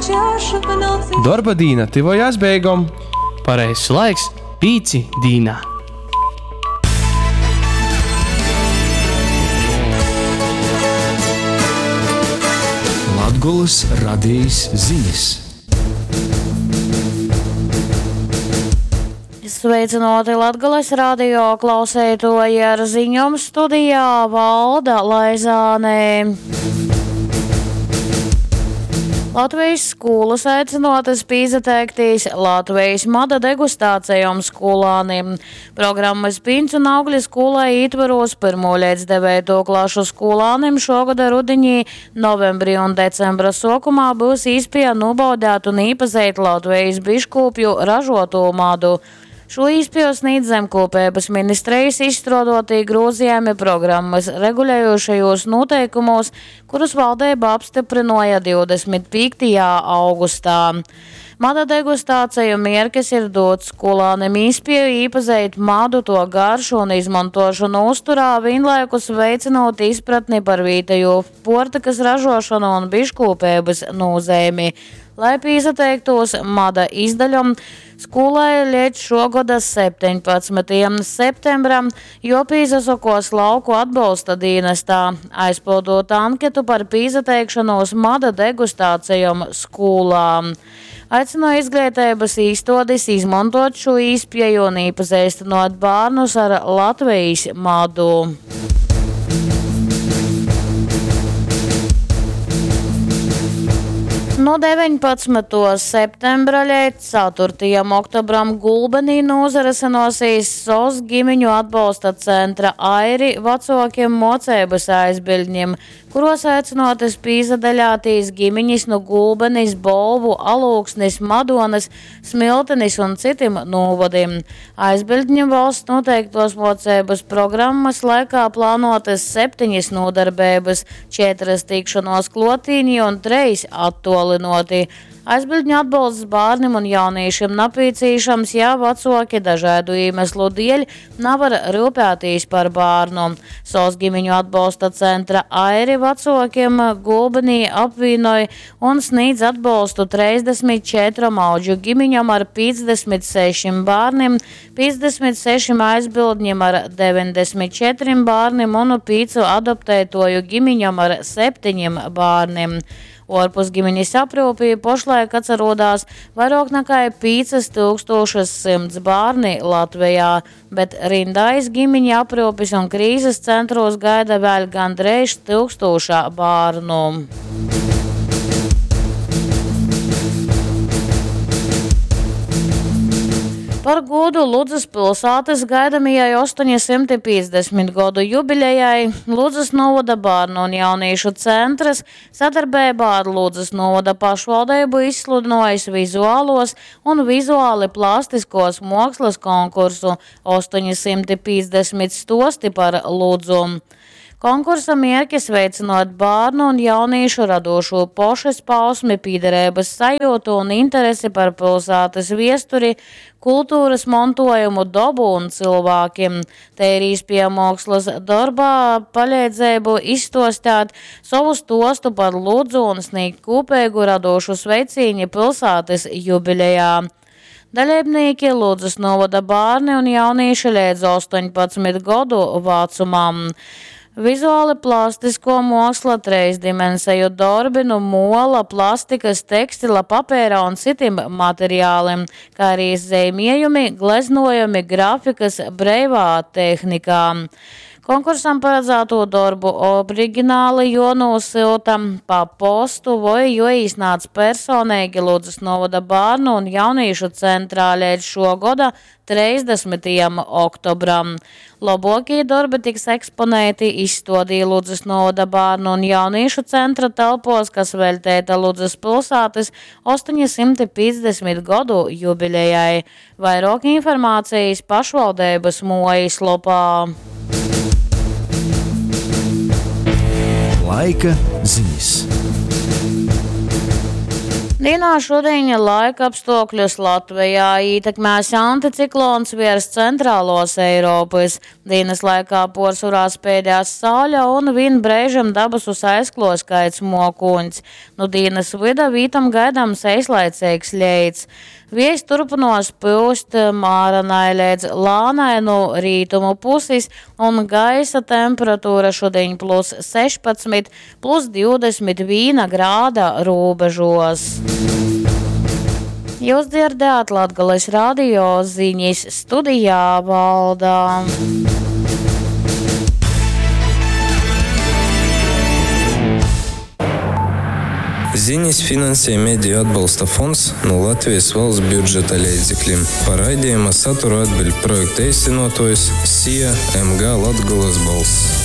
Dorba dīna tyvojās beigom. Pareizs laiks pīci dīnā. Latgolys radejis zinis. Sveicynōti Latgales radio klauseitoji ar ziņom studijā Valda Laizāne. Latvijas skūlas aicynuotys pīsateiktīs Latvijas mada degustācejom skūlānim. Programmys Pīns un augļi skūlai ītvorūs pyrmū leidz deveitū klašu skūlānim šuogoda rudiņī, novembrī un decembra suokumā byus īspieja nūbaudēt un īpazeit Latvejis biškūpju ražuotū madu. Šū īspieju snīdz Zemkūpeibys ministrejis izstruoduotī grūzejumi programmys regulejušajūs nūteikumūs, kurus valdeiba apstyprynuoja 25. augustā. Mada degustāceju mierkis ir dūt skolānim īspieju īpazeit madu, tuo garšu un izmontuošonu uzturā, vīnlaikus veicinūt izpratni par vītejū puortykys ražuošonu un biškūpeibys nūzeimi. Lai pīsateiktūs mada izdaļom, skūlai leidz šuo goda 17. septembram juopīsasokuos lauku atbolsta dīnestā, aizpyldūt anketu par pīsateikšonūs mada degustācejom skūlā. Aicynoju izgleiteibys īstuodis izmontuot šū īspieju un īpazeistynuot bārnus ar Latvejis madu. Nu 19. septembra leidz 4. oktobram Gulbenī nūzarysynuosīs SOS gimiņu atbolsta centra Airi vacuokim muoceibys aizbiļdņim, kuruos aicynuotys pīsadaļātīs gimiņis nu Gulbenis, Bolvu, Alūksnis, Madonys, Smiltenis un cytim nūvodim. Aizbiļdņu valsts nūteiktuos muoceibys programmys laikā plānuotys septeņis nūdarbeibys, četrys tikšonuos kluotīnī un treis attuolynuoti. Aizbiļdņu atbolsts bārnim un jaunīšim napīcīšams, ja vacuoki dažaidu īmeslu dieļ navar ryupētīs par bārnu. SOS gimiņu atbolsta centra Airi vacuokim Gulbenī apvīnoj un snīdz atbolstu 34 audžu gimiņom ar 56 bārnim, 56 aizbildņim ar 94 bārnim un 5 adoptētoju gimiņom ar 7 bārnim. Uorpus giminis apryupī pošlaik atsarodās vairuok nakai 5100 bārni Latvejā, bet rindā iz gimiņu apryupis un krīzes centrūs gaida vēļ gandreiž tyukstūša bārnu. Par gūdu Ludzys pilsātys gaidamajai 850 godu jubilejai Ludzys nūvoda bārnu un jaunīšu centrs sadarbeibā ar Ludzys nūvoda pašvaldeibu izsludynuojs vizualuos un vizuali plastiskuos muokslys konkursu 850 stuosti par Ludzu. Konkursa mierkis veicynuot bārnu un jaunīšu radūšū pošizpausmi, pīdereibys sajiutu un interesi par pilsātys viesturi, kulturys montuojumu, dobu un cylvākim. Tei ir īspieja muokslys dorbā paleidzeibu izstuostēt sovu stuostu par Ludzu un snīgt kūpeigu radūšu sveicīni pilsātys jubilejā. Daleibnīki Ludzys nūvoda bārni un jaunīši leidz 18 godu vacumam. Vizuali plastiskuo muoksla, treisdimenseju dorbi nu muola, plastikys, tekstila, papeira un cytim materialim, kai arī zeimiejumi, gleznuojumi, grafikys breivā tehnikā. Konkursam paradzātū dorbu origināli juonūsyuta pa postu voi juoīsnādz personeigi Ludzys nūvoda bārnu un jaunīšu centrā leidz šuo goda 30. oktobram. Lobuokī dorbi tiks eksponēti izstuodī Ludzys nūvoda bārnu un jaunīšu centra telpuos, kas veļteita Ludzys pilsātys 850 godu jubilejai. Vairuok informācejis pašvaldeibys muojislopā. Laika zinis. Dīnā šudiņ laikapstuokļus Latvejā ītekmēs anticiklons viers centrāluos Eiropys. Dīnys laikā puorsvorā speidēs saule un vīn breižim dabasus aizkluos kaids muokūņs. Nu dīnys vyda vītom gaidams eislaiceigs leits. Viejs turpynuos pyust māranai leidz lānai nu rītumu pusis, un gaisa temperatūra šudiņ plus 16, plus 21 grāda rūbežos. Jūs dzirdējāt Latgales radio ziņas studijā Valdā. Ziņas finansē Mediju atbalsta fonds no Latvijas valsts budžeta leidzekļiem. Par raidījuma saturu atbild projekta īstenotājs SIA MG Latgolas balss.